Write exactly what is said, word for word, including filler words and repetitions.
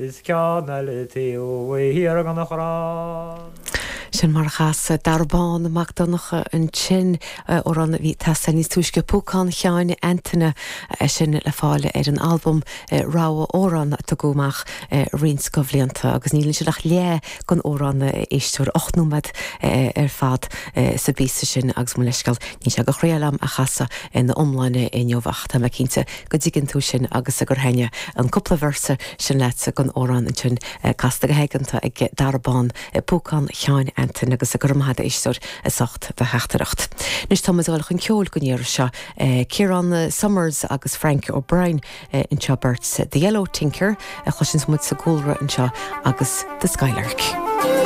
Is ceann eile taobh thiar den chrann. Sin mar a chas Dara Bán Mac Donncha ansin amhrán a bhí tasa níos túisce Púcán Sheáin Antaine sin le fáil ar an albam Rogha Amhrán a tugadh amach roinnt de bhlianta agus níl sé ach leath den amhrán éisteoir ocht nóiméad ar fad sa bpíosa sin agus mo leithscéal níl sé go chréam a chasadh ina iomláine inniu ach tá mé cinnte go dtuigeann tú sin agus gur thaitin an cúpla véarsa sin leat den amhrán ansin casta go haigeanta ag Dara Bán Púcán Sheáin Antaine agus go raibh maith agat éisteoir as ucht do theachtaireacht. Anois tá dul chun ceoil don iarraidh seo Ciarán Summers agus Frank O'Brien anseo beirt The Yellow Tinker a chloiseann muid sa gcúlra anseo agus The Skylark.